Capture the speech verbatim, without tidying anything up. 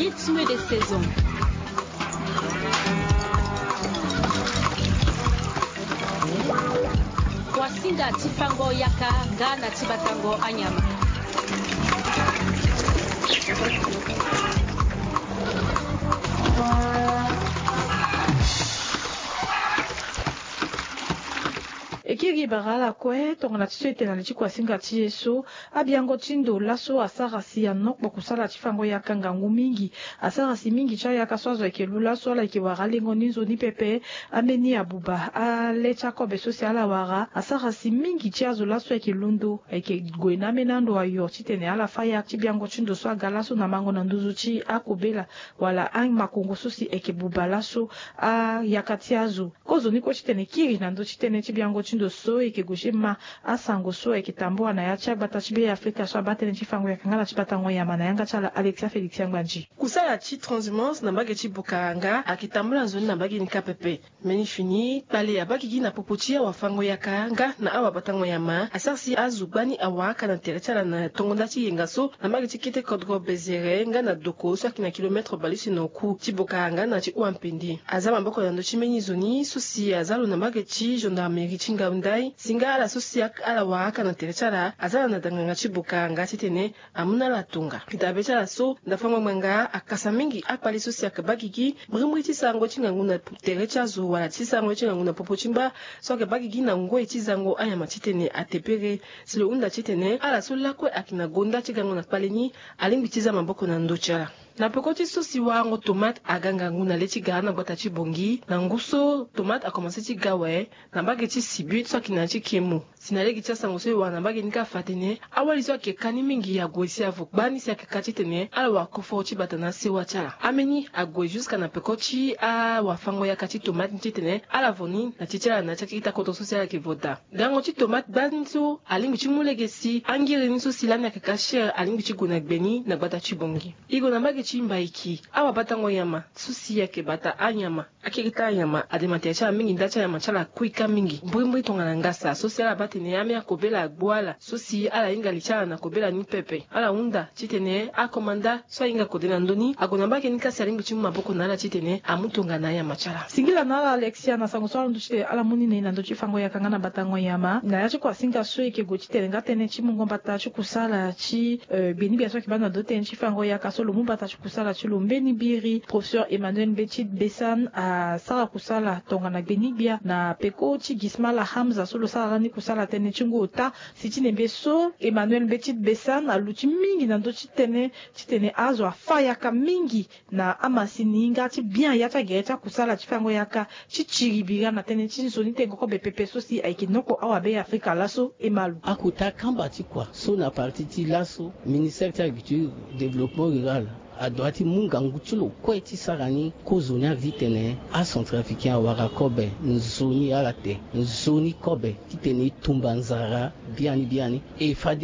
Rythme de saison. Kuasinga ti fango yaka nga na ti batango anyama. Ekiri bara ala kue tongana ti so e tene na li ti kuasinga ti e so, abiango ti ndo laso asara si anokpo kusala ti fango yaka ngangu mingi. Asara si mingi ti ayaka so azo ayeke lu laso ala yeke wara alengo ni nzoni pepe. Ambeni abuba ale ti akobe so si ala wara asara si mingi ti azo laso ayeke londo ayeke gue na ambeni ando ayo titene ala fâ ya ti biango ti ndo so aga laso na mango na nduzu ti akobela wala amakongo so si ayeke buba laso ayaka ti azo. Kozoni kue titene kiri na ndö ti tënë ti biango ti ndo so e yeke gue ti ma asango so e yeke tambula na ya ti agbata ti Be Afrika so abaa tënë ti fango yaka nga na ti batango nyama na yanga ti ala Alexia Félix Angbandji. Kusala ti transhumance na mbage ti Bukaranga ayeke tambula nzoni na mbage ni kâ pepe. Mbeni fini kpale abaa gigi na popo ti awafango yaka nga na awabatango nyama asara si azo gbani awara aka na tere ti ala na tongo nda ti yenga so na mbage ti kete kodro Bezere nga na Doko so ayeke na kilomètre baleuse na oku ti Bukaranga na ti Ouampende. Aza maboko na ndö ti mbeni zo ni so si aza lo na mbage ti gendarmerie ti Ngaoundai si nga ala so si ak- ala wara aka na tere ti ala aza na danganga ti Bukaranga titene amu na ala tonga. Dabe ti ala so ndafango ngbanga akasa mingi akpale so si ayeke baa gigi mbrimbri ti sarango ti ngangu na tere ti azo wala ti sarango ti ngangu na popo ti mba so ayeke baa gigi na ngoi ti zango anyama titene atebere. Si lo hunda titene ala so lakue ayeke na gonda ti gango na kpale ni alingbi ti za maboko na ndö ti ala. Na peko ti so si warango tomate aga ngangu na le ti gara na gbata ti Bongi na ngu so tomate akomanse ti ga awe na mbage ti Sibut so ayeke na ya ti Kemo. Si na lege ti asango so e wara na mbage ni kâ afa atene awali so ayeke ka ni mingi ague si avo gbani si ayeke ka titene ala wara koforo ti bata na asewa ti ala. Ambeni ague jusque na peko ti awafango yaka ti tomate ni titene ala vo ni na ti ti ala na ya ti akita kodro so si ala yeke vo daa. Gango ti tomate gbani so alingbi ti mu lege si angiri ni so si lani ayeke ka cher alingbi ti gue na gbe ni na gbata ti Bongi. E gue na mbage ti Mbaiki awabatango nyama so si ayeke bata anyama. Akiri ti anyama ade na tere ti ala mingi nda ti anyama ti ala akui kâ mingi mbrimbri tongana ngasa so si ala baa tene ambeni akobela agbu ala so si ala hinga li ti ala na kobela ni pepe. Ala hunda titene akomanda so ahinga kode na ndö ni ague na mbage ni kâ si alingbi ti mu maboko na ala titene amu tongana anyama ti ala. Singila na ala Alexia na sango so ala ndu titene ala mu ni na e na ndö ti fango yaka nga na batango nyama na ya ti kuasinga so e yeke gue titene nga tënë ti mungo mbata ti kusala ti eh, gbeni gbia so ayeke baa na ndö ti tënë ti fango yaka so lo mu mbata ti kusala ti lo mbeni biri. Professeur Emmanuel Mbetchit Bessan asara kusala tongana gbeni gbia na peko ti Gismala Hamza so lo sara lani kusala tënë ti ngu ota. Si ti nembe so Emmanuel Mbetchit Bessan aluti mingi na ndö ti tënë titene azo afâ yaka mingi na amasini nga ti bien ya ti agere ti akusala ti fango yaka ti tiri bira na tënë ti nzoni tengo kobe pepe so si ayeke noko awabe Afrika laso e ma lo. Akota kamba ti kua so na parti ti laso ministère ti agriculture, développement rural adua ti mu ngangu ti lo kue ti sara ni. Kozoni ayeke titene acentrafricain awara kobe nzoni ala te nzoni kobe titene e tumba nzara biani biani e fade